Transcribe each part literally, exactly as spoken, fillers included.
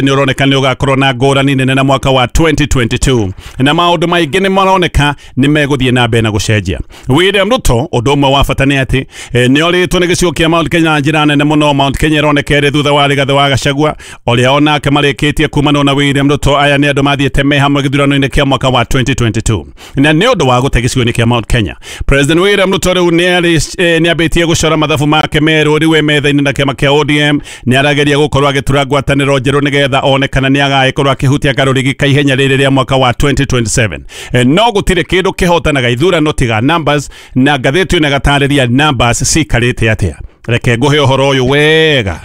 Nĩ ũroneka nĩ ũgakorwo na ngũrani nene na mwaka wa twenty twenty-two, na maũndũ maingĩ nĩ maroneka nĩ megũthiĩ na mbere na gũcenjia. William Ruto, ũndũ ũmwe wa bata nĩ atĩ nĩ orĩtwo nĩ gĩcigo kĩa Mount Kenya na njĩra nene mũno. Mount Kenya ĩroneka ĩrĩ thutha wa Rigathĩ wa Gachagua ũrĩa onake marĩkĩtie kumanwo na William Ruto. Aya nĩ andũ mathiĩte me hamwe gĩthurano-inĩ kĩa mwaka wa twenty twenty-two, na nĩ ũndũ wa gũte gĩcigo-inĩ kĩa Mount Kenya, President William Ruto rĩu nĩ ambĩtie gũcora mathabu make merũ rĩu e metha-inĩ na kĩama kĩa O D M. Nĩ arageria gũkorwo agĩtura ngwatanĩro njerũ nĩgetha one kana nĩ agagĩkorwo akĩhutia karũrigi ka ihenya rĩrĩ rĩa mwaka wa twenty twenty-seven. No gũtirĩ kĩndũ kĩhotanaga ithurano tiga numbers, na ngathĩti ĩno ĩgatarĩria numbers cikarĩte atĩa. Reke ngũhe ũhoro ũyũ wega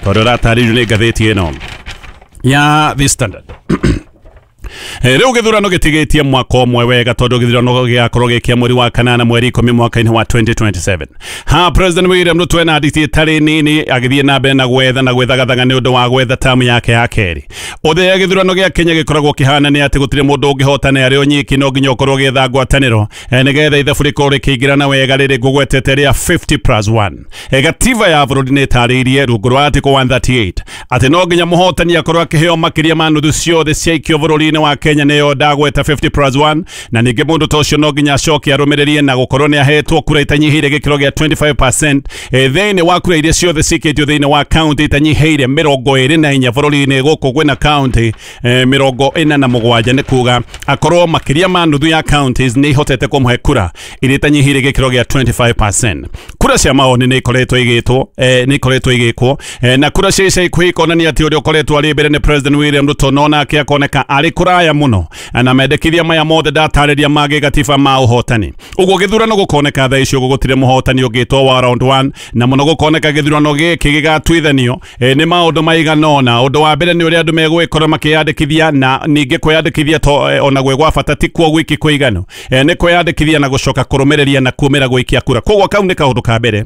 tondũ ũratarĩrio nĩ ngathĩti ĩno ya The Standard. Rĩu gĩthurano gĩtigĩtie mwaka ũmwe wega tondũ gĩthurano gĩgakorwo gĩkia mweri wa kanana mweri ikũmi mwaka-inĩ wa twenty twenty-seven. Ha, President William Ruto ena nditi ĩtarĩ nini agĩthiĩ na mbere na gwetha na gwĩthagathaga nĩ ũndũ wa gwetha tamu yake ya kerĩ. Ũthĩa gĩthurano gĩa Kenya gĩkoragwo kĩhana nĩ atĩ gũtirĩ mũndũ ũngĩhotana arĩ o nyiki, no nginya ũkorwo ũgĩetha ngwatanĩro nĩgetha ithabu rĩkorwo rĩkĩingĩrana wega rĩrĩ ngũgwetete rĩa fifty plus one. Gatiba ya bũrũri nĩ ĩtarĩirie rungu rwa article one thirty-eight atĩ no nginya mũhotani akorwo akĩheo makĩria ma nuthu ciothe cia ikio bũrũri-inĩ wa Kenya, nĩyo ndagweta fifty plus one, na ningĩ mũndũ ta ũcio no nginya acoke arũmĩrĩrie na gũkorwo nĩ ahetwo kura itanyihĩire gĩkĩro gĩa twenty-five percent thĩinĩ wa kura iria ciothe cikĩtio thĩinĩ wa county itanyihĩire mĩrongo ĩrĩ na inya bũrũri-inĩ. Gũkũ kwĩna county mĩrongo ĩna na mũgwanja, nĩ kuga akorwo makĩria ma nuthu ya counties nĩ ihotete kũmũhe kura iria itanyihĩire gĩkĩro gĩa twenty-five percent. Kura cia maoni nĩ ikoretwo igĩtwo nĩ ikoretwo igĩkwo, na kura cia ica ikuhĩ ikonania atĩ ũrĩa ũkoretwo arĩ mbere nĩ President William Ruto, no nake akoneka arĩ kũraya mũno na mendekithia maya mothe ndatarĩria ma gĩgatiba ma ũhotani. Ũguo gĩthurano gũkoneka thaa ici ũguo gũtirĩ mũhotani ũngĩtwo wa round one, na mũno gũkoneka gĩthurano gĩkĩ gĩgatuithanio nĩ maũndũ maigana ũna. Ũndũ wa mbere nĩ ũrĩa andũ megũgĩkorwo makĩyandĩkithia, na ningĩ kwĩyandĩkithia to ona gwĩ gwa bata ti kuo gwiki kũiganu, nĩ kwĩyandĩkithia na gũcoka kũrũmĩrĩria na kumĩra gũikia kura. Koguo kau nĩ kaũndũ ka mbere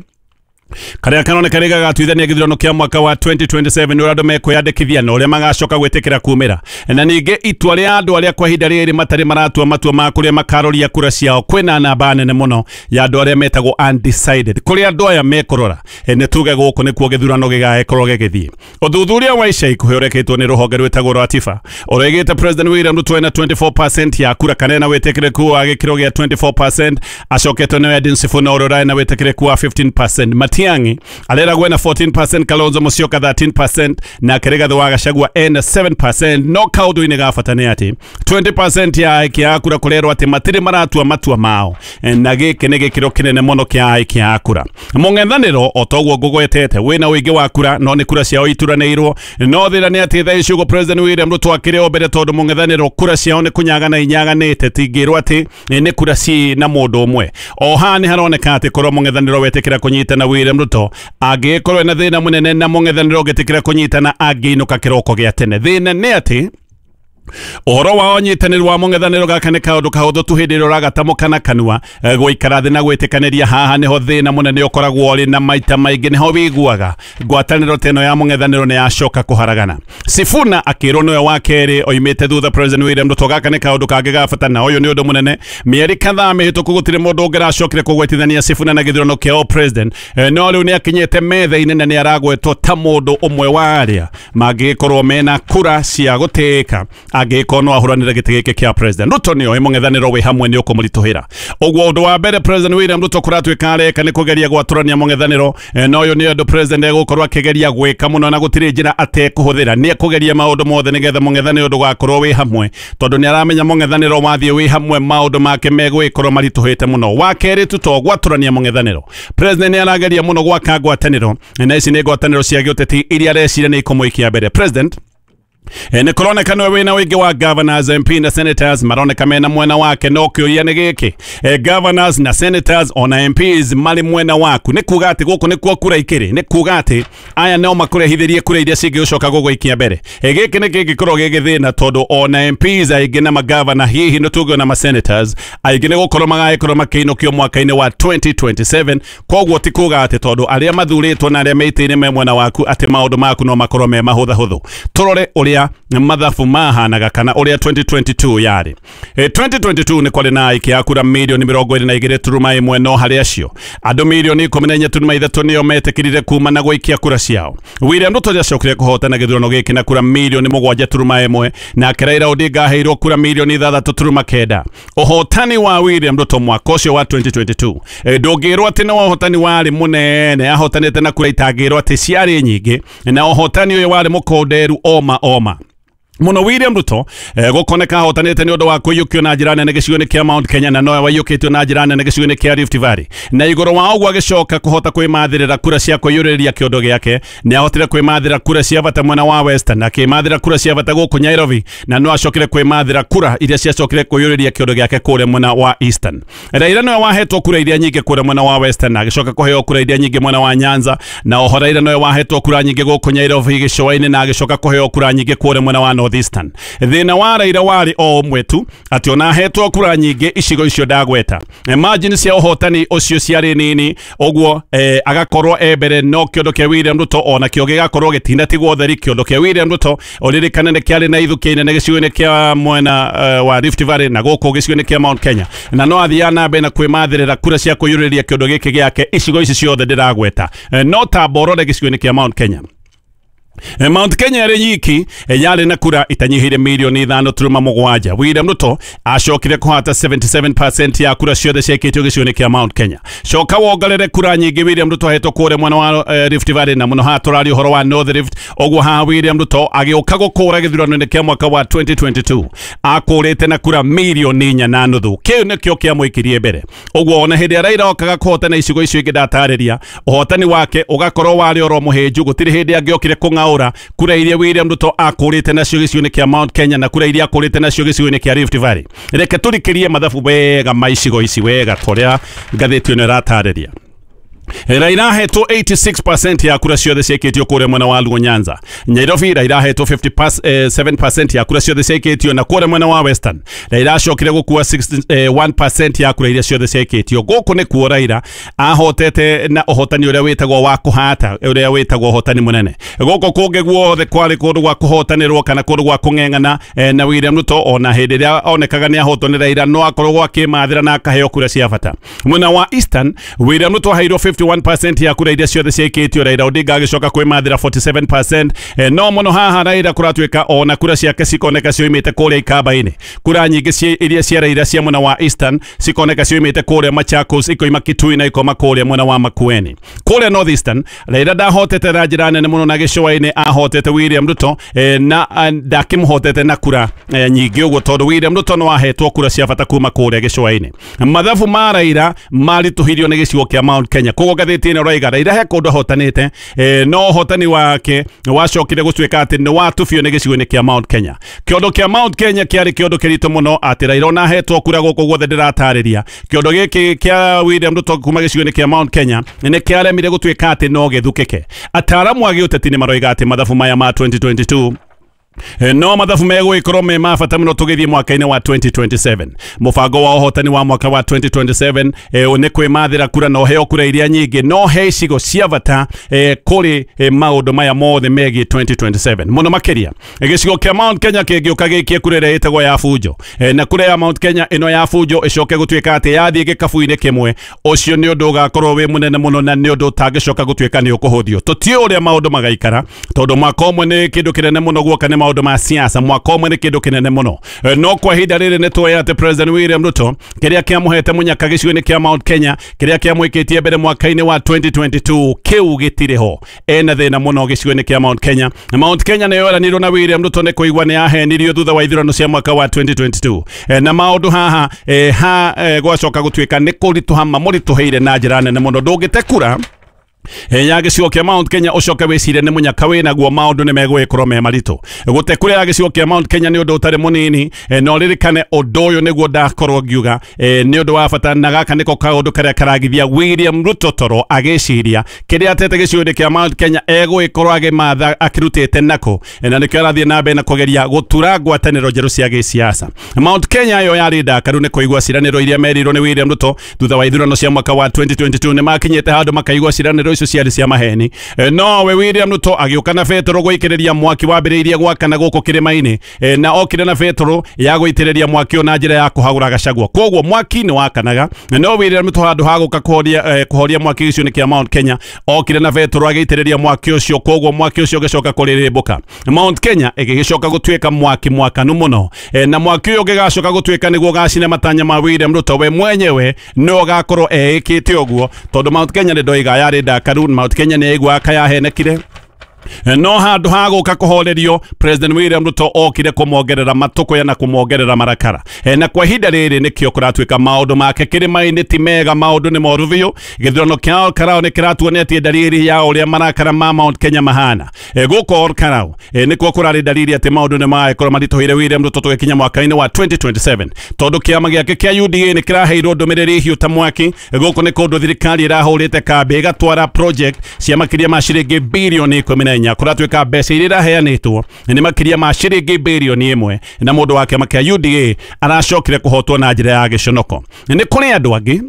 karĩa karoneka nĩ gagatuithania gĩthurano kĩa mwaka wa twenty twenty-seven, ũrĩa andũ mekwĩyandĩkithia na ũrĩa magacoka gwĩtĩkĩra kumĩra, na ningĩ itua rĩa andũ arĩa kwa ihinda rĩrĩ matarĩ maratua matua ma kũrĩa makaroria kura ciao. Kwĩna namba nene mũno ya andũ arĩa metagwo undecided, kũrĩa andũ aya mekũrora nĩ tuge gũkũ nĩkuo gĩthurano gĩgagĩkorwo gĩgĩthiĩ. Ũthuthuria wa ica ikuhĩ ũrekĩtwo nĩ rũhonge rwĩtagwo rwa Tifa ũroigĩte President William Ruto ena twenty-four percent ya kura, kana ena wĩtĩkĩrĩku wa gĩkĩro gĩa twenty-four percent, acoketwo nĩ Edwin Sifuna ũrĩa ũrarĩ na wĩtĩkĩrĩku wa fifteen percent. Matiang'i areragwo ena fourteen percent, Kalonzo Musyoka thirteen percent, na Rigathĩ wa Gachagua ena seven percent. No kaũndũ-inĩ ga bata nĩ atĩ twenty percent ya aikia a kura kũrerwo atĩ matirĩ maratua matua mao, na gĩkĩ nĩ gĩkĩro kĩnene mũno kĩa aikia a kura. Mũng'ethanĩro o toguo ngũgwetete wĩna ũingĩ wa kura, no nĩ kura ciao ituranĩirwo. No thĩna nĩ atĩ thaa ici ũguo President William Ruto akĩrĩ o mbere, tondũ mũng'ethanĩro kura ciao nĩ kũnyagana inyaganĩte, tingĩrwo atĩ nĩ kura ci na mũndũ ũmwe. O haha nĩ haroneka atĩ korwo mũng'ethanĩro wetĩkĩra kũnyitana William Ruto angĩkorwo ena thĩna mũnene, na mũng'ethanĩro ũngĩtĩkĩra kũnyitana angĩinũka kĩroko gĩa tene. Thĩna nĩ atĩ ũhoro wa ũnyitanĩri wa mũng'ethanĩro gaka nĩ kaũndũ kahũthũ tu hĩndĩ ĩrĩa ũragatamũka na kanua. Gũikara thĩ na gwĩtĩkanĩria haha nĩho thĩna mũnene ũkoragwo ũrĩ, na maita maingĩ nĩho wĩiguaga ngwatanĩro ta ĩno ya mũng'ethanĩro nĩ yacoka kũharagana. Sifuna akĩrwo nĩwe wa kerĩ oimĩte thutha President William Ruto. Gaka nĩ kaũndũ kangĩ ga bata, na ũyũ nĩ ũndũ mũnene. Mĩeri kadhaa mĩhĩtũku gũtirĩ mũndũ ũngĩracokire kũgwetithania Sifuna na gĩthurano kĩa president, no rĩu nĩ akinyĩte metha-inĩ na nĩ aragwetwo ta mũndũ ũmwe wa arĩa mangĩgĩkorwo mena kura cia gũtĩĩka angĩkorwo no ahũranĩre gĩtĩ gĩkĩ kĩa president. Ruto nĩoĩ mũng'ethanĩro wĩ hamwe nĩ ũkũmũritũhĩra. Ũguo ũndũ wa mbere President William Ruto kũratuĩka areka nĩ kũgeria gwatũrania mũng'ethanĩro, na ũyũ nĩ ũndũ president egũkorwo akĩgeria gwĩka mũno, na gũtirĩ njĩra atekũhũthĩra. Nĩ ekũgeria maũndũ mothe nĩgetha mũng'ethanĩro ndũgakorwo wĩ hamwe, tondũ nĩ aramenya mũng'ethanĩro wathiĩ wĩ hamwe maũndũ make megũgĩkorwo maritũhĩte mũno. Wa kerĩ tu to gwatũrania mũng'ethanĩro, president nĩ arageria mũno gwaka ngwatanĩro, na ici nĩ ngwatanĩro cia gĩũteti iria areciria nĩ ikũmũikia mbere. President nĩ kũroneka nĩwe wĩna ũingĩ wa governors, M P na senators maroneka mena mwena wake, no kĩũria nĩ gĩkĩ, governors na senators ona M Ps marĩ mwena waku, nĩ kuga atĩ gũkũ nĩkuo kura ikĩrĩ, nĩ kuga atĩ aya no makũrehithĩrie kura iria cingĩgũcoka gũgũikia mbere. Gĩkĩ nĩ kĩngĩkorwo gĩ gĩthĩna, tondũ ona M Ps aingĩ na magavana hihi nĩ tuge na masenators aingĩ nĩ gũkorwo magagĩkorwo makĩinũkio mwaka-inĩ wa twenty twenty-seven. Koguo ti kuga atĩ tondũ arĩa mathurĩtwo na arĩa me itĩ-inĩ me mwena waku atĩ maũndũ maku no makorwo me mahũthahũthũ. Tũrore ũrĩa mathabu mahanaga kana ũrĩa twenty twenty-two yarĩ. E, twenty twenty-two nĩ kwarĩ na aikia a kura mirioni mĩrongo ĩrĩ na igĩrĩ turuma ĩmwe, no harĩ acio andũ mirioni ikũmi na inya turuma ithatũ nĩo metĩkĩrire kuma na gũikia kura ciao. William Ruto nĩacokire kũhotana gĩthurano gĩkĩ na kura mirioni mũgwanja turuma ĩmwe, nake Raila Odinga aheirwo kura mirioni ithathatũ turuma kenda. Ũhotani wa William Ruto mwaka ũcio wa twenty twenty-two e, ndũngĩrwo atĩ nĩ ũhotani warĩ mũnene, ahotanĩte na kura itangĩrwo atĩ ciarĩ nyingĩ, na ũhotani ũyũ warĩ mũkonderu oma oma muno. William Ruto eh, gukoneka ahotanite ni undu wa kuiyukio na njira nene gicigo-inĩ kĩa Mount Kenya, na nowe waiyũkĩtio na njira nene gicigo-inĩ kĩa Rift Valley, na igũrũ wa ũguo agĩcoka kũhota kwĩmathĩrĩra kura cia kũiyũrĩrĩria kĩondo gĩake. Nĩ ahotire kwĩmathĩra kura cia bata mwena wa Western, na akĩmathĩra kura cia bata gũkũ Nairobi, na no acokire kwĩmathĩra kura iria ciacokire kũiyũrĩrĩria kĩondo gĩake kũrĩa mwena wa Eastern. Raila nowe wahetwo kura iria nyingĩ kũrĩa mwena wa Western, na agĩcoka kũheo kura iria nyingĩ mwena wa Nyanza, na oho Raila nowe wahetwo kura nyingĩ gũkũ Nairobi gĩcũa-inĩ, na agĩcoka kũheo kura nyingĩ kũrĩa mwena wa North Eastern. Thĩna wa Raila warĩ o ũmwe tu, atĩ ona ahetwo kura nyingĩ icigo icio ndagweta, margin cia ũhotani ũcio ciarĩ nini, ũguo eh, agakorwo e mbere, no kĩondo kĩa William Ruto ona kĩo gĩgakorwo gĩtinatigwo theri. Kĩondo kĩa William Ruto ũririkane nĩ kĩarĩ na ithukĩ nene gĩcigo-inĩ kĩa mwena uh, wa Rift Valley na gũkũ gĩcigo-inĩ kĩa Mount Kenya, na no athiaga na mbere na kwĩmathĩrĩra kura cia kũiyũrĩrĩria kĩondo gĩkĩ gĩake icigo ici ciothe ndĩragweta, eh, no ta borore gĩcigo-inĩ kĩa Mount Kenya. Mount Kenya yarĩ nyiki yarĩ na kura itanyihĩire mirioni ithano turuma mũgwanja. William Ruto acokire kũhata seventy-seven percent ya kura ciothe ciaikĩtio gĩcigo-inĩ kĩa Mount Kenya. Coka wongerere kura nyingĩ William Ruto ahetwo kũrĩa mwena wa eh, Rift Valley, na mũno haha tũraria ũhoro wa North Rift. Ũguo haha William Ruto agĩũka gũkũra gĩthurano-inĩ kĩa mwaka wa twenty twenty-two akũrĩte na kura mirioni inya na nuthu. Kĩu nĩkĩo kĩamũikirie mbere. Ũguo ona hĩndĩ ĩrĩa Raila okaga kũhotana icigo icio ingĩ ndatarĩria, ũhotani wake ũgakorwo warĩ oro mũhĩnju, gũtirĩ hĩndĩ angĩokire kũng'aũra kura iria William Ruto akũrĩte nacio gĩcigo-inĩ kĩa Mount Kenya na kura iria akũrĩte nacio gĩcigo-inĩ kĩa Rift Valley. Reke tũrikĩrie mathabu wega ma icigo ici wega torĩa ngathĩti ĩno ĩratarĩria. Raila ahetwo eighty-six percent ya kura ciothe ciaikĩtio kũrĩa mwena wa Luo Nyanza. Nairobi Raila ahetwo fifty-seven percent ya kura ciothe ciaikĩtio, na kũrĩa mwena wa Western Raila acokire gũkua sixty-one percent ya kura iria ciothe ciaikĩtio. Gũkũ nĩkuo Raila ahotete na ũhotani ũrĩa wĩtagwo wa kũhata, ũrĩa wĩtagwo ũhotani mũnene. Gũkũ kũngĩ guothe kwarĩ kũndũ gwa kũhotanĩrwo kana kũndũ gwa kũng'eng'ana na William Ruto ona hĩndĩ ĩrĩa onekaga nĩ ahotwo nĩ Raila no akoragwo akĩmathĩra na akaheo kura cia bata. Mwena wa Eastern William Ruto aheirwo fifty-one percent ya kura iria ciothe ciaikĩtio, Raila Odinga agĩcoka kwĩmathĩra forty-seven percent. eh, no mũno haha Raila kũratuĩka ona kura ciake cikoneka cioimĩte kũrĩa ikamba-inĩ. Kura nyingĩ iria cia Raila cia mwena wa Eastern cikoneka cioimĩte kũrĩa Machakos, ikoima Kitui na ikoma kũrĩa mwena wa Makueni. Kũrĩa North Eastern Raila ndahotete na njĩra nene mũno, na gĩcũa-inĩ ahotete William Ruto eh, na ndakĩmũhotete na kura eh, nyingĩ ũguo, tondũ William Ruto no ahetwo kura cia bata kuma kũrĩa gĩcũa-inĩ. Mathabu ma Raila maritũhirio nĩ gĩcigo kĩa Mount Kenya. Koguo ngathĩti ĩno ĩroiga Raila he kũndũ ahotanĩte, eh, no ũhotani wake wacokire gũtuĩka atĩ nĩ watubio nĩ gĩcigo-inĩ kĩa Mount Kenya. Kĩondo kĩa Mount Kenya kĩarĩ kĩondo kĩritũ mũno atĩ Raila ona ahetwo kura gũkũ guothe ndĩratarĩria. Kĩondo gĩkĩ kĩa William Ruto kuma gĩcigo-inĩ kĩa Mount Kenya nĩ kĩaremire gũtuĩka atĩ no gĩthukĩke. Ataaramu a gĩũteti nĩ maroiga atĩ mathabu maya ma twenty twenty-two no mathabu megũgĩkorwo me ma bata mũno tũgĩthiĩ mwaka-inĩ wa twenty twenty-seven. Mũbango wa ũhotani wa mwaka wa twenty twenty-seven eh, nĩ kwĩmathĩra kura na ũheo kura iria nyingĩ, no he icigo cia bata eh, kũrĩ eh, maũndũ maya mothe megiĩ twenty twenty-seven. Mũno makĩria gĩcigo kĩa Mount Kenya kĩngĩũka gĩikie kura ĩrĩa ĩtagwo ya bunjo, eh, na kura ya Mount Kenya ĩno ya bunjo ĩcoke gũtuĩka atĩ yathiĩ gĩkabu-inĩ kĩmwe, ũcio nĩ ũndũ ũgakorwo wĩ mũnene mũno na nĩ ũndũ ũtangĩcoka gũtuĩka nĩ ũkũhũthio. Tũtiũĩ ũrĩa maũndũ magaikara, tondũ mwaka ũmwe nĩ kĩndũ kĩnene mũno guoka nĩ maũndũ ma siasa, mwaka ũmwe nĩ kĩndũ kĩnene mũno. No kwa ihinda rĩrĩ nĩ tũĩ atĩ President William Ruto kĩrĩa kĩamũhete mũnyaka gĩcigo-inĩ kĩa Mount Kenya, kĩrĩa kĩamwĩkĩtie mbere mwaka-inĩ wa twenty twenty-two kĩu gĩtirĩ ho. Ena thĩna mũno gĩcigo-inĩ kĩa Mount Kenya. Mount Kenya nĩyo yeranirwo na William Ruto nĩ kũigua nĩ yahenirio thutha wa ithurano cia mwaka wa twenty twenty-two. Na maũndũ haha ha gwacoka gũtuĩka nĩ kũritũha mamũritũhĩire na njĩra nene mũno. Ndũngĩte kura ya gĩcigo kĩa Mount Kenya ũcoke wĩcirie nĩ mũnyaka wĩnaguo, maũndũ nĩ megũgĩkorwo me maritũ. Gũte kura ya gĩcigo kĩa Mount Kenya nĩ ũndũ ũtarĩ mũnini, na ũririkane ũndũ ũyũ nĩguo ndakorwo ngiuga nĩ ũndũ wa bata, na gaka nĩko kaũndũ karĩa karagithia William Ruto toro agĩciria kĩrĩa atete gĩcigo-inĩ kĩa Mount Kenya egũgĩkorwo agĩmatha akĩrutĩte nako, na nĩkĩo arathiĩ na mbere na kũgeria gũtura ngwatanĩro njerũ cia gĩsiasa. Mount Kenya ĩyo yarĩ ndakaru nĩ kũigua ciĩranĩro iria merirwo nĩ William Ruto thutha wa ithurano cia mwaka wa twenty twenty-two. Nĩ makinyĩte handũ makaigua ciĩranĩro icio ciarĩ cia maheni. E, no we William Ruto agĩũka na betũrũ gũikĩrĩria mwaki wambĩrĩirie gwakana gũkũ kĩrĩma-inĩ, e, na okire na betũrũ ya gũitĩrĩria mwaki ũyũ na njĩra ya kũhagũra Gachagua. Koguo mwaki nĩ wakanaga, no William Ruto handũ ha gũka kũhoria eh, kũhoria mwaki ũcio nĩ kĩa Mount Kenya, okire na betũrũ agĩitĩrĩria mwaki ũcio, koguo mwaki ũcio ũgĩcoka kũrĩrĩmbũka. Mount Kenya ĩgĩgĩcoka gũtuĩka mwaki mwakanu mũno, e, na mwaki ũyũ ũgĩgacoka gũtuĩka nĩguo ũgacina matanya ma William Ruto we mwenyewe no agakorwo eĩkĩte ũguo, tondũ Mount Kenya nĩ ndoiga yarĩ ndakaru. Mount Kenya nĩ yaiguaga kayahenekire, no handũ ha gũka kũhorerio President William Ruto okire kũmongerera matũkũya na kũmongerera marakara. E, na kwa ihinda rĩrĩ nĩkĩo kũratuĩka maũndũ make kĩrĩma-inĩ ti mega, maũndũ nĩ moru biũ. Gĩthurano kĩa Ol Kalou nĩ kĩratuonia ndariri ya ũrĩa marakara ma Mount Kenya mahana. E, gũkũ Ol Kalou e, nĩkuo kũrarĩ ndariri atĩ maũndũ nĩ magagĩkorwo maritũhĩire William Ruto tũgĩkinya mwaka-inĩ wa twenty twenty-seven, tondũ kĩama gĩake kĩa U D A nĩ kĩraheirwo ndũmĩrĩri hiũ ta mwaki. Gũkũ nĩ kũndũ thirikari ĩrahũrĩte kambĩ ĩgatwara project cia makĩria ma ciringi birioni ikũmi na inya. Kũratuĩka mbeca iria iraheanĩtwo nĩ makĩria ma ciringi birioni ĩmwe, na mũndũ wa kĩama kĩa U D A aracokire kũhotwo na njĩra ya gĩconoko. Nĩ kũrĩ andũ angĩ,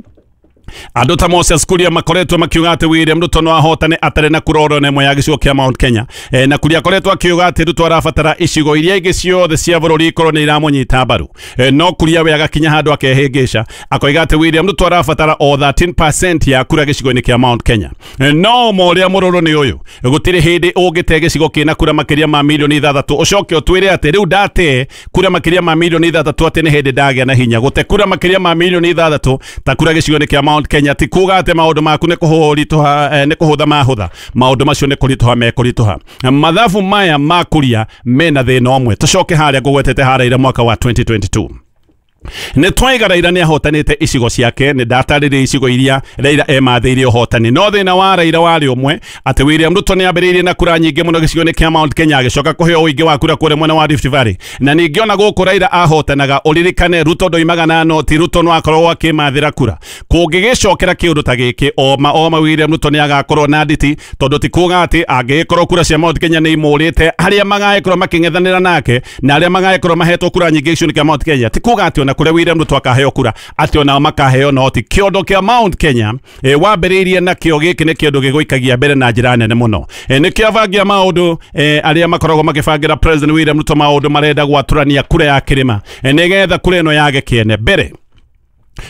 andũ ta Moses Kuria makoretwo makiuga atĩ William Ruto no ahotane atarĩ na kura oro ĩmwe ya gĩcigo kĩa Mount Kenya. E, na Kuria akoretwo akiuga atĩ Ruto arabatara icigo iria ingĩ ciothe cia bũrũri ikorwo nĩ iramũnyita mbaru. E, no Kuria we agakinya handũ akehĩngĩca akoiga atĩ William Ruto arabatara o thirteen percent ya kura gĩcigo-inĩ kĩa Mount Kenya. E, no morĩa mũrũrũ nĩ ũyũ, gũtirĩ hĩndĩ ũngĩte gĩcigo kĩna kura makĩria ma milioni ithathatũ ũcoke ũtwĩre atĩ rĩu ndate kura makĩria ma milioni ithathatũ atĩ nĩ hĩndĩ ndagĩa na hinya. Gũte kura makĩria ma milioni ithathatũ ta kura gĩcigo-inĩ kĩa Mount Kenya ti kuga atĩ maũndũ maku nĩ kũhũritũha, nĩ kũhũtha mahũtha, maũndũ macio nĩ kũritũha mekũritũha. Mathabu maya ma Kuria mena thĩna ũmwe. Tũcoke harĩa ngũgwetete harĩa ira mwaka wa twenty twenty-two. Nĩ twaiga Raila nĩ ahotanĩte icigo ciake, nĩ ndatarĩria icigo iria Raila emathĩire ũhotani, no thĩna wa Raila warĩ ũmwe atĩ William Ruto nĩ ambĩrĩirie na kura nyingĩ mũno gĩcigo-inĩ kĩa Mount Kenya, agĩcoka kũheo ũingĩ wa kura kũrĩa mwena wa Rift Valley. Na ningĩ ona gũkũ Raila ahotanaga, ũririkane Ruto ndoimaga na noti, Ruto no akoragwo akĩmathĩra kura. Kũngĩgĩcokera kĩũndũ ta gĩkĩ, oma oma William Ruto nĩ agakorwo na nditi, tondũ ti kuga atĩ angĩgĩkorwo kura cia Mount Kenya nĩ imũrĩte arĩa magagĩkorwo makĩng'ethanĩra nake na arĩa magagĩkorwo mahetwo kura nyingĩ gĩcigo-inĩ kĩa Mount Kenya, ti kuga atĩ ona kũrĩa William Ruto akaheo kura atĩ onao makaheo noti. Kĩondo kĩa Mount Kenya e, wambĩrĩirie nakĩo gĩkĩ nĩ kĩondo gĩgũikagia mbere na njĩra nene mũno. E, nĩkĩo abangi a maũndũ e, arĩa makoragwo makĩbangĩra President William Ruto maũndũ marenda gwatũrania kura ya kĩrĩma, e, nĩgetha kura ĩno yage kĩene mbere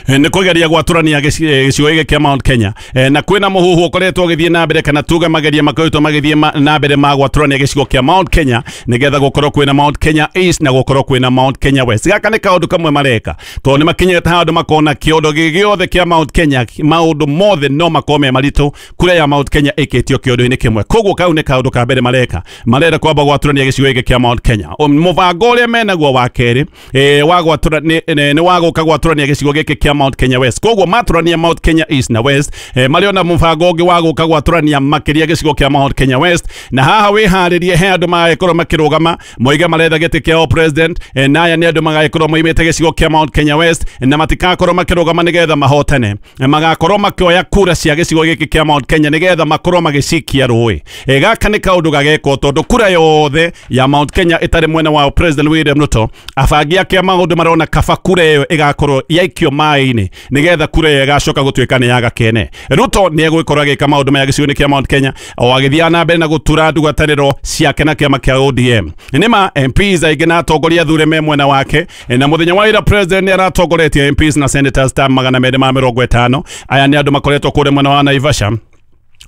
nĩ kũgeria gwatũrania gĩcigo gĩkĩ kĩa Mount Kenya. E, na kwĩna mũhuhu ũkoretwo ũgĩthiĩ na mbere, kana tuge mageria makoretwo magĩthiĩ na mbere ma gwatũrania gĩcigo kĩa Mount Kenya nĩgetha gũkorwo kwĩna Mount Kenya East na gũkorwo kwĩna Mount Kenya West. Gaka nĩ kaũndũ kamwe mareka, tondũ nĩ makinyĩte handũ makona kĩondo gĩothe kĩa Mount Kenya, maũndũ mothe no makorwo me maritũ kura ya Mount Kenya ĩkĩtio kĩondo-inĩ kĩmwe. Koguo kau nĩ kaũndũ ka mbere mareka, marenda kwamba gwatũrania gĩcigo gĩkĩ kĩa Mount Kenya. Mũbango ũrĩa menaguo wa kerĩ e, wa gwatũra nĩ wa gũka gwatũrania gĩcigo gĩkĩ kĩa Mount Kenya West. Koguo matũrania Mount Kenya East na West, eh, marĩ ona mũbango ũngĩ wa gũka gwatũrania makĩria gĩcigo kĩa Mount Kenya West. Na haha wĩharĩrie he andũ magagĩkorwo makĩrũgama moiga maretha gĩtĩ kĩa president, eh, na aya nĩ andũ magagĩkorwo moimĩte gĩcigo kĩa Mount Kenya West na matikakorwo makĩrũgama nĩgetha mahotane, eh, magakorwo makĩoya kura cia gĩcigo gĩkĩ kĩa Mount Kenya nĩgetha makorwo magĩcikia rũĩ. Eh, gaka nĩ kaũndũ gagekwo tondũ kura yothe ya Mount Kenya ĩtarĩ mwena wa President William Ruto, abangi ake a maũndũ marona kaba kura ĩyo ĩgakorwo yaikio maĩ-inĩ nĩgetha kura ĩyo ĩgacoka gũtuĩka nĩ yaga kene. Ruto nĩ egũgĩkorwo agĩka maũndũ maya gĩcigo-inĩ kĩa Mount Kenya o agĩthiaga na mbere na gũtura ndũgatanĩro ciake na kĩama kĩa O D M. Nĩma M Ps aingĩ na atongoria athure me mwena wake, na mũthenya wa ira president nĩ aratongoretie M Ps na senators ta magana merĩ ma mĩrongo ĩtano. Aya nĩ andũ makoretwo kũrĩa mwena wa Naivasha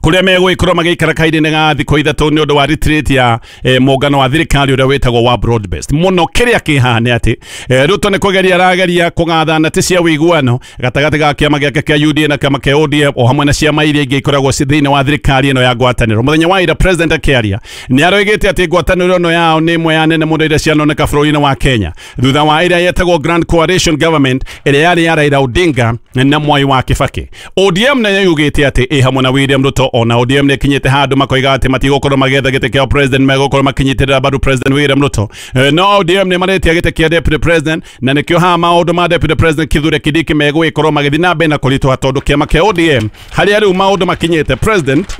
kuria megũgĩkorwo magĩikara kahinda-inĩ ga thikũ ithatũ nĩ ũndũ wa retreat ya eh, mũngano wa thirikari ũrĩa wĩtagwo wa broad based. Mũno kĩrĩa kĩhaha nĩ atĩ eh, Ruto nĩ kũgeria arageria kũgatha nati cia ũiguano gatagatĩ ga kĩama gĩake kĩa U D A na kĩama kĩa O D M o hamwe na ciama iria ingĩ ikoragwo ci thĩinĩ wa thirikari ĩno ya ngwatanĩro. Mũthenya wa ira president akĩaria nĩ aroigĩte atĩ ngwatanĩro ĩno yao nĩ ĩmwe ya nene mũno iria cianoneka bũrũri-inĩ wa Kenya thutha wa ĩrĩa yetagwo Grand Coalition Government ĩrĩa yarĩ ya Raila Odinga na Mwai wa Kibaki. O D M nayo yugĩte atĩ ĩ hamwe na William Ruto, ona O D M nĩ kinyĩte handũ makoiga atĩ matigũkorwo magĩetha gĩtĩ kĩa president, megũkorwo makinyitĩrĩra mbaru president William Ruto. No O D M nĩ maretia gĩtĩ kĩa deputy president, na nĩkĩo haha maũndũ ma deputy president Kithure Kindiki megũgĩkorwo magĩthiĩ na mbere na kũritũha tondũ kĩama kĩa O D M harĩa rĩu maũndũ makinyĩte, president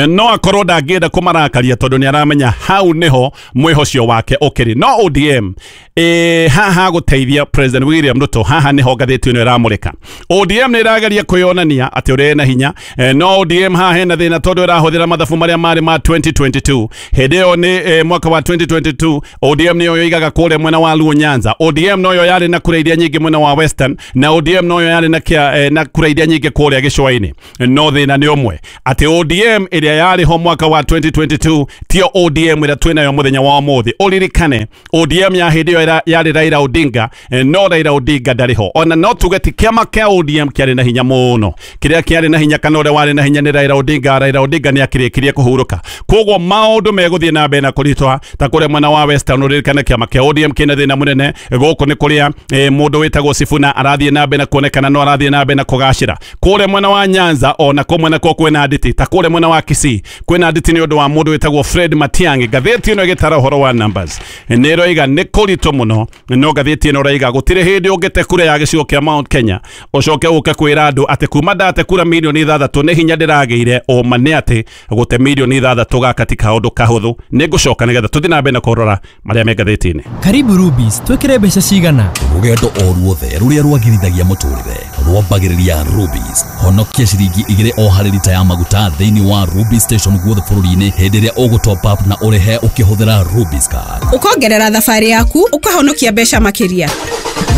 No akorwo ndangĩenda kũmarakaria tondũ nĩ aramenya hau nĩho mwĩhocio wake ũkĩrĩ. No O D M e, haha gũteithia President William Ruto, haha nĩho ngathĩti ĩno ĩramũrĩka. O D M nĩ ĩrageria kwĩyonania atĩ ũrĩa ĩna hinya, e, no O D M haha hena thĩna tondũ ĩrahũthĩra mathabu marĩa marĩ ma twenty twenty-two. Hĩndĩ ĩyo nĩ e, mwaka wa twenty twenty-two O D M nĩyo yoigaga kũrĩa mwena wa Luo Nyanza, O D M noyo yarĩ na kura iria nyingĩ mwena wa Western, na O D M noyo yarĩ na kia, e, na kura iria nyingĩ kũrĩa gĩcũa-inĩ. No thĩna nĩ ũmwe atĩ O D M ĩrĩa yarĩ ho mwaka wa twenty twenty-two tio O D M ĩrĩa twĩnayo mũthenya wa ũmũthĩ. Ũririkane O D M ya hĩndĩ ĩyo yarĩ Raila Odinga, no Raila Odinga ndarĩ ho. Ona no tuge ti kĩama kĩa O D M kĩarĩ na hinya mũno, kĩrĩa kĩarĩ na hinya kana ũrĩa warĩ na hinya nĩ Raila Odinga. Raila Odinga nĩ akĩrĩkirie kũhurũka, koguo maũndũ megũthiĩ na mbere na kũritũha ta kũrĩa mwena wa Western. Ũririkane kĩama kĩa O D M kĩna thĩna mũnene. Gũkũ nĩ kũrĩa e, mũndũ wĩtagwo Sifuna arathiĩ na mbere na kuonekana no arathiĩ na mbere na kũgacĩra. Kũrĩa mwena wa Nyanza ona kũ mwena kwa kwĩna nditi, ta kũrĩa mwena wa Kisii kwĩna nditi nĩ ũndũ wa mũndũ wĩtagwo Fred Matiang'i. Ngathĩti ĩno ĩgĩtara ũhoro wa numbers nĩ ĩroiga nĩ kũritũ mũno, no ngathĩti ĩno ĩroiga gũtirĩ hĩndĩ ũngĩte kura ya gĩcigo kĩa Mount Kenya ũcoke ũke kwĩra andũ atĩ kuma ndate kura milioni ithathatũ nĩ hinya ndĩragĩire. Ũma nĩ atĩ gũte milioni ithathatũ gaka ti kaũndũ kahũthũ. Nĩ ngũcoka nĩgetha tũthiĩ na mbere na kũrora marĩa me ngathĩti-inĩ. Karibu Rubis, twĩkĩre mbeca cigana? Rũgendo o ruothe rũrĩa rwagĩrithagia mũtũrĩre rwambagĩrĩria Rubis. Honokia ciringi igĩrĩ o harĩ rita ya maguta thĩinĩ wa Rubis station guothe bũrũri-inĩ hĩndĩ ĩrĩa ũgũ top up na ũrĩhe ũkĩhũthĩra Rubis card. Ũkongerera thabarĩ yaku ũkahonokia mbeca makĩria.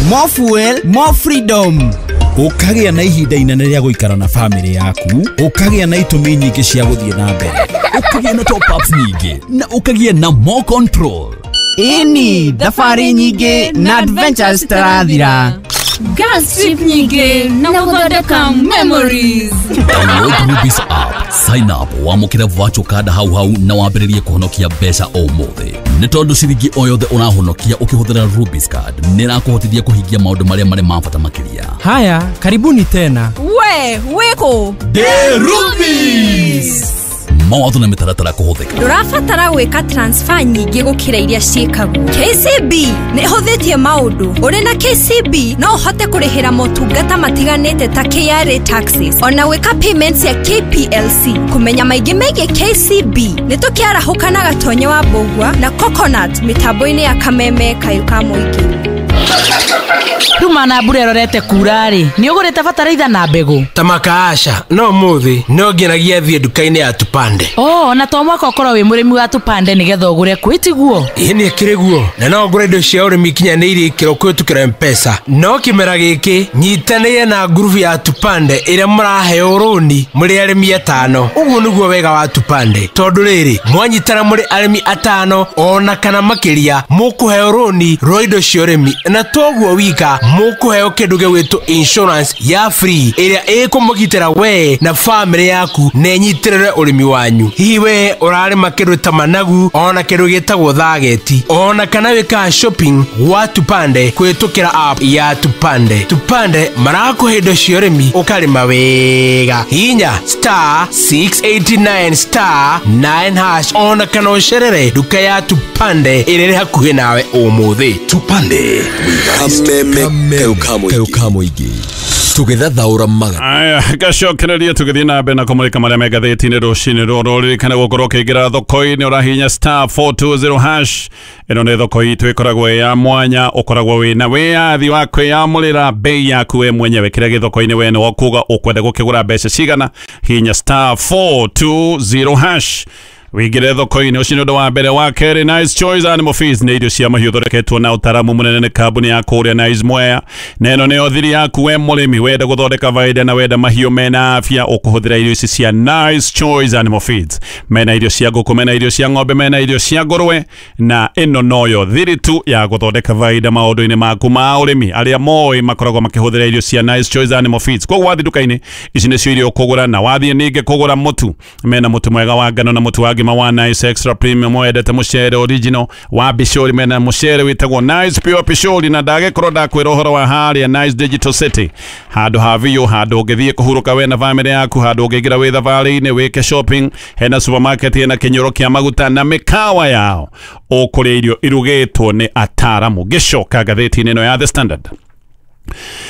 More fuel, more freedom. Ũkagĩa na ihinda inene rĩa gũikara na family yaku, ũkagĩa na itũmi nyingĩ cia gũthiĩ na mbere, ũkagĩa na top ups nyingĩ na ũkagĩa na more control. Ĩni thabarĩ nyingĩ na adventures citarathira. Gas trip nyingĩ na gũthondeka memories. Download Rubis app, sign up, wamũkĩre virtual card hau hau na wambĩrĩrie kũhonokia mbeca ũmũthĩ. Nĩ tondũ ciringi o yothe ũrahonokia ũkĩhũthĩra Rubis card nĩ ĩrakũhotithia kũhingia maũndũ marĩa marĩ ma bata makĩria. Haya, karibuni tena. We, wĩkũ? Ndĩ Rubis. Mawatho na mĩtaratara kũhũthĩka. Ndũrabatara gwĩka transfer nyingĩ gũkĩra iria ciĩkagwo. K C B nĩ ĩhũthĩtie maũndũ. Ũrĩ na K C B no ũhote kũrĩhĩra motungata matiganĩte ta K R A taxes, ona gwĩka payments ya K P L C. Kũmenya maingĩ megiĩ K C B nĩ tũkĩarahũka na Gatonye wa Mbũgua na Coconut mĩtambo-inĩ ya Kameme Kayũ ka Mũingĩ. Ruma na mbura ĩrorete kura rĩ, nĩ ũgũrĩte bataraitha na mbegũ? Ta makaasha no mũthĩ no nginyagia thiĩ nduka-inĩ ya Tupande. Oh, na to mwaka ũkorwo wĩ mũrĩmi wa Tupande nĩgetha ũgũre kwĩ tiguo? Ĩĩ nĩ ĩkĩrĩ guo, na no ngũre indo cia ũrĩmi ikinyanĩirie ikĩro kũhĩtũkĩra M-Pesa. No kĩmera gĩkĩ nyitanĩire na ngurubu ya Tupande ĩrĩa mũraheo rũni mũrĩ arĩmi atano. Ũguo nĩguo wega wa Tupande, tondũ rĩrĩ mwanyitana mũrĩ arĩmi atano ona kana makĩria mũkũheo rũni rwa indo cia ũrĩmi, na toguo wika mũkũheo kĩndũ gĩgwĩtwo insurance ya free ĩrĩa ĩkũmũgitĩra we na family yaku na ĩnyitĩrĩre ũrĩmi wanyu. Hihi we ũrarĩma kĩndũ ta managu ona kĩndũ gĩtagwo thageti ona kana wĩkaga shopping gwa Tupande kũhĩtũkĩra app ya Tupande. Tupande marakũhe indo cia ũrĩmi ũkarĩma wega. Hinya star six eight nine star nine hash ona kana ũcerere nduka ya Tupande ĩrĩa ĩrĩ hakuhĩ nawe ũmũthĩ. Tupande Kameme Kayũ ka Mũingĩ tũgĩthathaũra maga. Aya, gacokereria tũgĩthiĩ na mbere na kũmũrĩka marĩa me ngathĩti-inĩ rũcinĩ rũrũ. Ririkana gũkorwo ũkĩingĩra thoko-inĩ ũrahihinya star four two zero hash. Ĩno nĩ thoko itũ ĩkoragwo ĩ ya mwanya, ũkoragwo wĩna wĩyathi wa kwĩyamũrĩra bei yaku we mwenyewe. Kĩrĩa gĩ thoko-inĩ we nĩwe ũkuga ũkwenda gũkĩgũra mbeca cigana. Hihinya star four two zero hash wĩingĩre thoko-inĩ. Ũcio nĩ ũndũ wa mbere. Wa kerĩ, Nice Choice Animal Feeds nĩ irio cia mahiũ thondeketwo na ũtaramu mũnene nĩ kambuni ya kũrĩa Nice Mwea, na ĩno nĩyo thiri yaku we mũrĩmi wenda gũthondeka baida na wenda mahiũ mena afya, ũkũhũthĩra irio ici cia Nice Choice Animal Feeds. Mena irio cia ngũkũ, mena irio cia ng'ombe, mena irio cia ngũrwe, na ĩno noyo thiri tu ya gũthondeka baida maũndũ-inĩ maku ma ũrĩmi. Arĩa moĩ makoragwo makĩhũthĩra irio cia Nice Choice Animal Feeds. Koguo wathiĩ nduka-inĩ ici nĩcio irio ũkũgũra, na wathiĩ ningĩ kũgũra mũtu, mena mũtu mwega wa ngano na mũtu wa ngima wa Nice Extra Premium. Wendete mũcere original wa Bishori, mena mũcere wĩtagwo Nice Pure Bishori. Na ndagĩkorwo ndakwĩra ũhoro wa harĩa Nice Digital City, handũ ha biũ, handũ ũngĩthiĩ kũhurũka we na family yaku, handũ ũngĩingĩra wĩ thabarĩ-inĩ wĩke shopping, hena supermarket, hena kĩnyũro kĩa maguta na mĩkawa yao, ũkũrĩa irio irugĩtwo nĩ ataramu. Ngĩcoka ngathĩti-inĩ ĩno ya The Standard.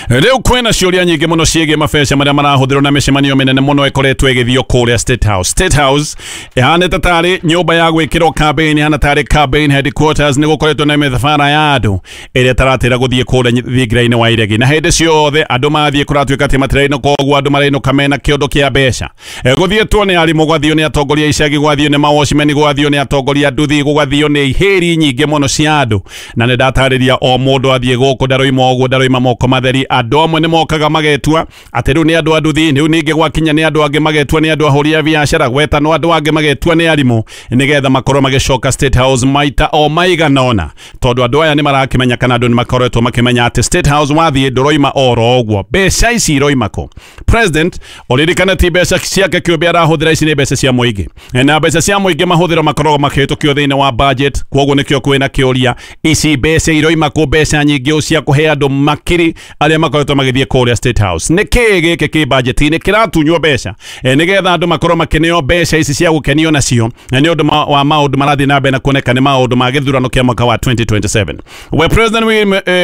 Rĩu kwĩna ciũria nyingĩ mũno ciĩgiĩ mabeca marĩa marahũthĩrwo na mĩcemanio mĩnene mũno ĩkoretwo ĩgĩthio kũrĩa State House. State House ĩhanĩte tarĩ nyũmba ya gwĩkĩrwo campaign, ĩhana tarĩ campaign headquarters. Nĩ gũkoretwo na mĩthabara ya andũ ĩrĩa ĩtaratĩra gũthiĩ kũrĩa thingira-inĩ wa iregi, na hĩndĩ ciothe andũ mathiĩ kũratuĩka atĩ matirainũka ũguo, andũ marainũka mena kĩondo kĩa mbeca. Gũthiĩtwo nĩ arimũ, gwathio nĩ atongoria icagi, gwathio nĩ mawatchman, gwathio nĩ atongoria nduthi, gũgathio nĩ ihĩri nyingĩ mũno cia andũ. Na nĩ ndatarĩria o mũndũ athiĩ gũkũ ndaroima ũguo, ndaroima moko matheri. Andũ amwe nĩ mokaga magetua atĩ rĩu nĩ andũ a nduthi, rĩu ningĩ gwakinya nĩ andũ angĩ magetua nĩ andũ ahũri a biacara, gwetanwo andũ angĩ magetua nĩ arimũ, nĩgetha makorwo magĩcoka State House maita o maigana ũna, tondũ andũ aya nĩ marakĩmenya kana andũ nĩ makoretwo makĩmenya atĩ State House wathiĩ ndũroima oro ũguo. Mbeca ici iroima kũ? President ũririkane ti mbeca ciake kĩũmbe arahũthĩra, ici nĩ mbeca cia mũingĩ, na mbeca cia mũingĩ mahũthĩro makoragwo makĩhĩtũkio thĩinĩ wa budget. Kwoguo nĩkĩo kwĩna kĩũria, ici mbeca iroima kũ? Mbeca nyingĩ cia kũhe andũ makiri arĩa makoretwo magĩthiĩ kũrĩa State House. Nĩ kĩĩ gĩkĩ kĩ budget-inĩ kĩratunywo mbeca nĩgetha andũ makorwo makĩneo mbeca ici cia gũkenio nacio nĩ ũndũ wa maũndũ marathiĩ na mbere na kuoneka nĩ maũndũ ma gĩthurano kĩa mwaka wa twenty twenty-seven. We President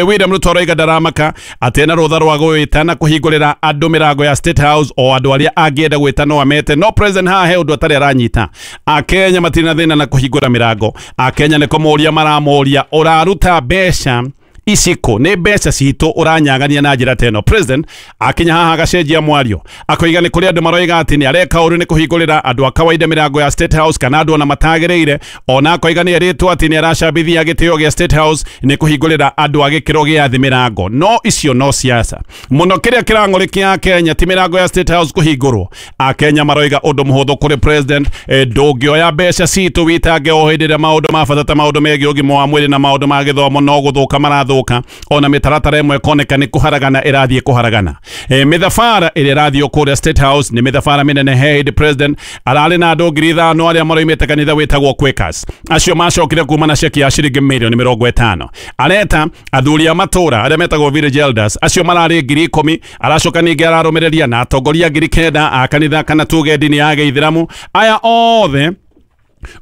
William Ruto aroiga ndaramaka atĩ ena rũtha rwa gwĩta na kũhingũrĩra andũ mĩrango ya State House, o andũ arĩa angĩenda gwĩta no amete. No President haha he ũndũ atarĩ aranyita. Akenya matirĩ na thĩna na kũhingũra mĩrango. Akenya nĩ kũmũria maramũria, ũraruta mbeca iciko nĩ mbeca citũ ũranyagania na njĩra teno. President akinya haha agacenjia mwario, akoiga nĩ kũrĩ andũ maroiga atĩ nĩ areka ũru nĩ kũhingũrĩra andũ a kawaida mĩrango ya State House kana andũ ona matagĩrĩire. Ona akoiga nĩ erĩtwo atĩ nĩ aracambithia gĩtĩo gĩa State House nĩ kũhingũrĩra andũ a gĩkĩro gĩa thĩ mĩrango. No icio no siasa mũno. Kĩrĩa kĩrang'ũrĩkia Kenya ti mĩrango ya State House kũhingũrwo. Akenya maroiga ũndũ mũhũthũ kũrĩ President, ndũngĩoya mbeca citũ witange o hĩndĩ ĩrĩa maũndũ ma bata ta maũndũ megiĩ ũgima wa mwĩrĩ na maũndũ ma gĩthomo no gũthũka marathuka, ona mĩtaratara ĩmwe ĩkoneka nĩ kũharagana ĩrathiĩ kũharagana. E, mĩthabara ĩrĩa ĩrathiĩ kũrĩa State House nĩ mĩthabara mĩnene. He hĩndĩ President ararĩ na andũ ngiri ithano arĩa maroimĩte kanitha wĩtagwo Quakers, acio macokire kuma na ceki ya ciringi mirioni mĩrongo ĩtano. Areta athuri a matũra arĩa metagwo village elders, acio mararĩ ngiri ikũmi. Aracoka ningĩ ararũmĩrĩria na atongoria ngiri kenda a kanitha kana tuge ndini ya gĩithĩramu. Aya othe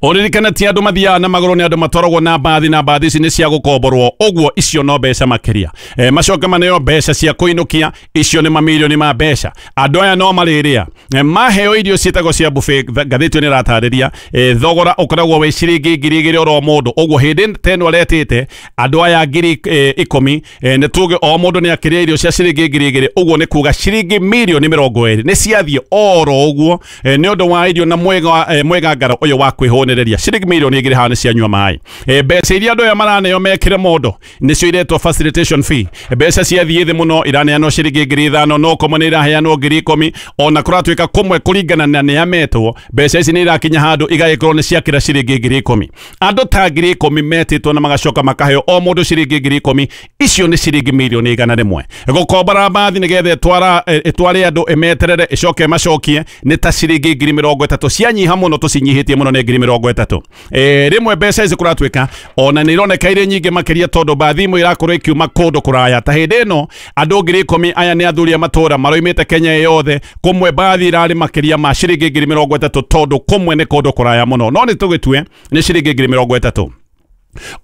ũririkane ti andũ mathiaga na magũrũ, nĩ andũ matwaragwo na mbathi, na mbathi ici nĩ cia gũkomborwo, ũguo icio no mbeca makĩria. E, macoke maneo mbeca cia kũinũkia, icio nĩ mamirioni ma mbeca. Andũ aya no marĩrĩa e, maheo irio ciĩtagwo cia buffet. Ngathĩti nĩ ĩratarĩria e, thogora ũkoragwo wĩ ciringi ngiri igĩrĩ oro mũndũ. Ũguo hĩndĩ teno aretĩte andũ aya ngiri e, ikũmi, e, nĩ tuge o mũndũ nĩ akĩrĩa irio cia ciringi ngiri igĩrĩ, ũguo nĩ kuga ciringi mirioni mĩrongo ĩrĩ nĩ ciathiĩ oro ũguo e, nĩ ũndũ wa irio na mwega e, mwegangaro ũyũ wa kwĩhũnĩrĩria. Ciringi mirioni igĩrĩ haha nĩ cianyua maĩ. E, mbeca iria andũ aya maraneo mekĩre mũndũ nĩcio iretwo facilitation fee. Mbeca ciathiĩ thĩ mũno, iraneanwo ciringi ngiri ithano, no kũmwe nĩ iraheanwo ngiri ikũmi. Ona kũratuĩka kũmwe kũringana na nĩa metwo, mbeca ici nĩ irakinya handũ igagĩkorwo nĩ ciakĩra ciringi ngiri ikũmi. Andũ ta ngiri ikũmi metĩtwo na magacoka makaheo o mũndũ ciringi ngiri ikũmi, icio nĩ ciringi mirioni igana rĩmwe. Gũkombora mbathi nĩgetha ĩtwara ĩtware andũ ĩmeterere ĩcoke ĩmacokie nĩ ta ciringi ngiri mĩrongo ĩtatũ. Cianyiha mũno tũcinyihĩtie mũno nĩ ngiri mĩrongo ĩtatũ. E, rĩmwe mbeca ici kũratuĩka ona nĩ ironeka irĩ nyingĩ makĩria tondũ mbathi imwe irakorwo ikiuma kũndũ kũraya. Ta hĩndĩ ĩno andũ ngiri ikũmi aya nĩ athuri a matũra maroimĩte Kenya yothe, kũmwe mbathi irarĩ makĩria ma ciringi ngiri mĩrongo ĩtatũ tondũ kũmwe nĩ kũndũ kũraya mũno. No nĩ tũgĩtue nĩ ciringi ngiri mĩrongo ĩtatũ.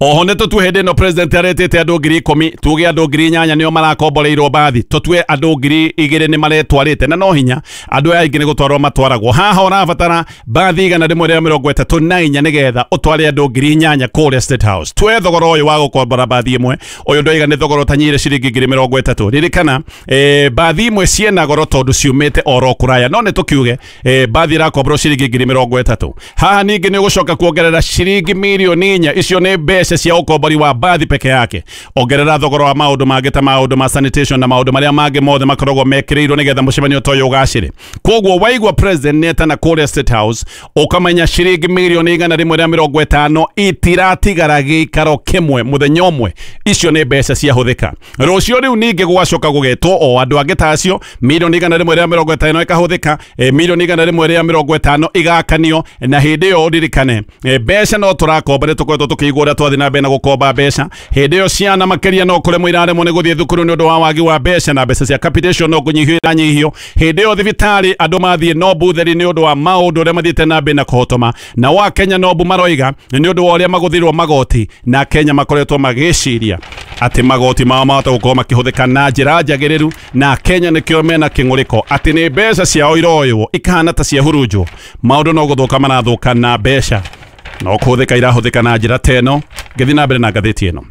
Oho nĩ tũtue hĩndĩ ĩno President aretĩte andũ ngiri ikũmi, tuge andũ ngiri inyanya nĩo marakomboreirwo mbathi, tũtue andũ ngiri igĩrĩ nĩ maretwarĩte, na no hinya andũ aya aingĩ nĩ gũtwarwo matwaragwo. Haha ũrabatara mbathi igana rĩmwe rĩa mĩrongo ĩtatũ na inya nĩgetha ũtware andũ ngiri inyanya kũrĩa State House. Tue thogora ũyũ wa gũkombora mbathi ĩmwe, ũyũ ndoiga nĩ thogora ũtanyihire ciringi ngiri mĩrongo ĩtatũ. Ririkana e, mbathi imwe ciĩna goro tondũ ciumĩte oro kũraya, no nĩ tũkiuge e, mbathi ĩrakomborwo ciringi ngiri mĩrongo ĩtatũ. Haha ningĩ nĩ ũgũcoka kuongerera ciringi mirioni inya, icio nĩ mbeca cia ũkombori wa mbathi peke yake. Ongerera thogora wa maũndũ mangĩ ta maũndũ ma sanitation na maũndũ marĩa mangĩ mothe makoragwo mekĩrĩirwo nĩgetha mũcemanio ta ũyũ ũgacĩre. Koguo waigua President nĩetana kũrĩa State House, ũkamenya ciringi mirioni igana rĩmwe rĩa mĩrongo ĩtano itiratigara gĩikaro kĩmwe mũthenya ũmwe. Icio nĩ mbeca ciahũthĩka. Rũciũ rĩu ningĩ gũgacoka gũgetwo o andũ angĩ ta acio, mirioni igana rĩmwe rĩa mĩrongo ĩtano ĩkahũthĩka, e, mirioni igana rĩmwe rĩa mĩrongo ĩtano igakanio. Na hĩndĩ ĩyo ũririkane e, mbeca no tũrakomba, nĩ tũkoretwo tũkĩigua ũrĩa twathi na mbere na gũkomba mbeca. Hĩndĩ ĩyo ciana makĩria no kũremwo iraremwo nĩ gũthiĩ thukuru nĩ ũndũ wa wagi wa mbeca, na mbeca cia capitation no kũnyihio iranyihio. Hĩndĩ ĩyo thibitarĩ andũ mathiĩ no butheri nĩ ũndũ wa maũndũ ũrĩa mathiĩte na mbere na kũhotoma. Na wa Kenya no mbu maroiga nĩ ũndũ wa ũrĩa magũthirwo magoti, na Kenya makoretwo magĩciria atĩ magoti mao mahota gũkorwo makĩhũthĩka na njĩra njagĩrĩru, na Kenya nĩkĩo mena kĩng'ũrĩko atĩ nĩ mbeca ciao iroywo ikahana ta ciahurunjwo. Maũndũ no gũthũka marathũka na mbeca no kũhũthĩka irahũthĩka na njĩra ta ĩno. Ngĩthiĩ na mbere na ngathĩti ĩno,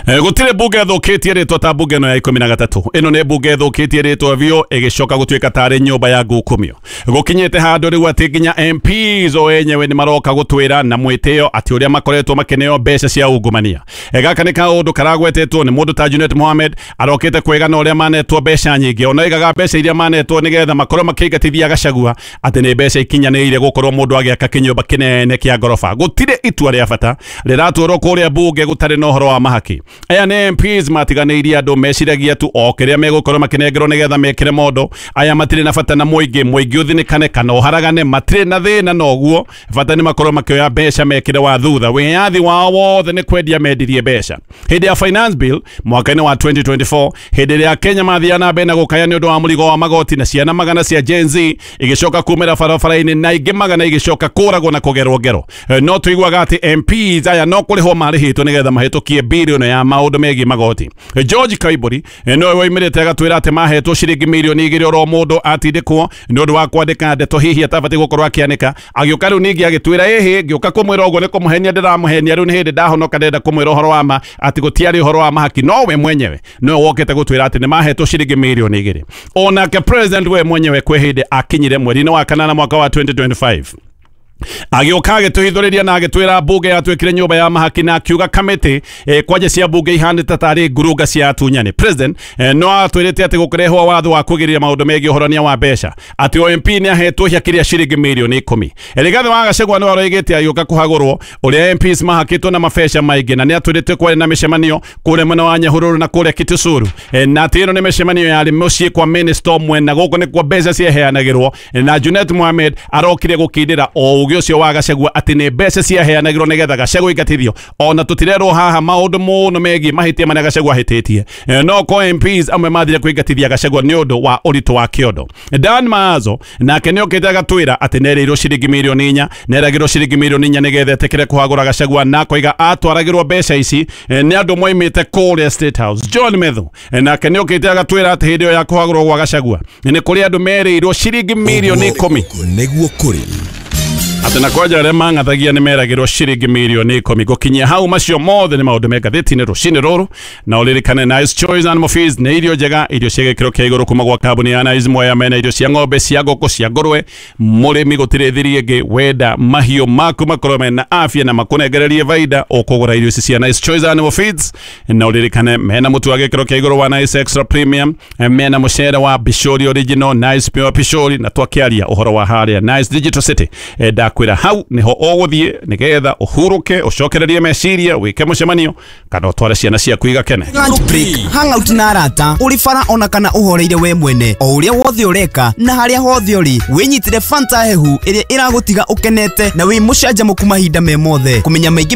gũtirĩ mbunge ĩthũkĩtie rĩtwa ta mbunge ĩno ya ikũmi na gatatũ. Ĩno nĩ mbunge ĩthũkĩtie rĩtwa biũ, ĩgĩcoka gũtuĩka tarĩ nyũmba ya ngukumio. Gũkinyĩte handũ rĩu atĩ nginya M Ps o enyewe nĩ maroka gũtwĩra na mwĩtĩo atĩ ũrĩa makoretwo makĩneo mbeca cia ungumania. Gaka nĩ kaũndũ karagwetetwo nĩ mũndũ ta Junet Mohamed, arokĩte kwĩgana ũrĩa manetwo mbeca nyingĩ, ona oigaga mbeca iria manetwo nĩgetha makorwo makĩingatithia Gachagua atĩ nĩ mbeca ikinyanĩire gũkorwo mũndũ agĩaka kĩnyũmba kĩnene kĩa ngoroba. Gũtirĩ itua rĩa bata rĩratwarwo kũrĩa mbunge gũtarĩ na ũhoro wa mahaki. Aya nĩ M Ps matiganĩirie andũ, meciragia tu o kĩrĩa megũkorwo makĩnengerwo nĩgetha mekĩre mondo. Aya matirĩ na bata na mũingĩ, mũingĩ ũthinĩkane kana ũharagane, matirĩ na thĩna na ũguo, bata nĩ makorwo makĩoya mbeca mekĩre wa thutha. Wĩyathi wao wothe nĩ kwendia mendirie mbeca. Hĩndĩ ya finance bill mwaka-inĩ wa twenty twenty-four, hĩndĩ ĩrĩa Kenya mathiaga na mbere na gũkaya nĩ ũndũ wa mũrigo wa magoti, na ciana magana cia Gen Z igĩcoka kumĩra barabara-inĩ na ingĩ magana igĩcoka kũragwo na kũgerwo ngero, no tũiguaga atĩ M Ps aya no kũrĩhwo marĩhĩtwo nĩgetha mahĩtũkie birioni ya maũndũ megiĩ magoti. George Kaibori nowe woimĩrĩte agatwĩra atĩ mahetwo ciringi mirioni igĩrĩ oro mũndũ atindĩkwo nĩ ũndũ wa kwandĩka ndeto hihi atabatiĩ gũkorwo akĩanĩka. Agĩũka rĩu ningĩ agĩtwĩra ĩhĩ, ngĩũka kũmwĩra ũguo nĩ kũmũhenia ndĩramũhenia, rĩu nĩ hĩndĩ ndahonoka ndĩrenda kũmwĩra ũhoro wa ma atĩ gũtiarĩ ũhoro wa mahaki. No we mwenyewe nowe wokĩte gũtwĩra atĩ nĩ mahetwo ciringi mirioni igĩrĩ. Onake president we mwenyewe kwĩ hĩndĩ akinyire mweri-inĩ wa kanana mwaka wa twenty twenty-five, agĩũka agĩtũhithũrĩria na agĩtwĩra mbunge yatuĩkire nyũmba ya mahaki, na akiuga kamĩtĩ eh, kwanja cia mbunge ihanĩte tarĩ ngurunga cia atunyani. President eh, no atwĩrĩte atĩ gũkĩrehwo watho wa kũgirĩrĩria maũndũ megiĩ ũhorania wa mbeca, atĩ o M P nĩ ahetwo hiakĩria ciringi mirioni ikũmi. Rigathĩ wa Gachagua nĩwe aroigĩte agĩũka kũhagũrwo ũrĩa M Ps mahakĩtwo na mabeca maingĩ, na nĩ atwĩrĩte kwarĩ na mĩcemanio kũrĩa mwena wa Nyahururu na kũrĩa Kitisuru, eh, na atĩ ĩno nĩ mĩcemanio yarĩ mũciĩ kwa minister ũmwe, na gũkũ nĩkuo mbeca ciaheanagĩrwo, na Junet Mohamed arokire gũkindĩra o ũgĩ ũcio wa Gachagua atĩ nĩ mbeca ciaheanagĩrwo nĩgetha Gachagua ingatithio. Ona tũtirerwo haha maũndũ mũno megiĩ mahĩtia marĩa Gachagua ahĩtĩtie, no ko M Ps amwe mathire kũingatithia Gachagua nĩ ũndũ wa ũritũ wa kĩondo. Dan Maazo nake nĩokĩte agatwĩra atĩ nerĩirwo ciringi mirioni inya, neragĩrwo ciringi mirioni inya nĩgetha etĩkĩre kũhagũra Gachagua, na akoiga atwaragĩrwo mbeca ici nĩ andũ moimĩte kũrĩa State House. John Methu nake nĩokĩte agatwĩra atĩ hĩndĩ ĩyo ya kũhagũrwo gwa Gachagua nĩ kũrĩ andũ merĩirwo ciringi mirioni ikũmi nĩguo kũrĩ atĩ na kwanja arĩa mang'athagia nĩ meragĩrwo ciringi mirioni ikũmi. Gũkinyia hau macio mothe nĩ maũndũ me ngathĩti-inĩ rũcinĩ rũrũ, na ũririkane Nice Choice Animal Feeds nĩ irio njega, irio cia gĩkĩro kĩa igũrũ kuma gwa kambuni ya Nice Mwea, mena irio cia ng'ombe, cia ngũkũ, cia ngũrwe. Mũrĩmi gũtirĩ thiri ĩngĩ, wenda mahiũ maku makorwo mena afya na makũnengererie baida, ũkũgũra irio ici cia Nice Choice Animal Feeds. Na ũririkane mena mũtu wa gĩkĩro kĩa igũrũ wa Nice Extra Premium, mena mũcere wa Bishori Original, Nice Pure Bishori, na twakĩaria ũhoro wa harĩa Nice Digital City. Ndakwĩra hau niho ũgũthiĩ nĩgetha ũhurũke, ũcokererie meciria, wĩke mũcemanio kana ũtware ciana ciaku igakene. Lunch break, hangout na arata, ũrĩ bara ona kana ũhoreire we mwene, o ũrĩa wothe ũreka na harĩa hothe ũrĩ, wĩnyitĩre Fanta hehu ĩrĩa ĩragũtiga ũkenete na wĩ mũcanjamũku mahinda me mothe. Kũmenya maingĩ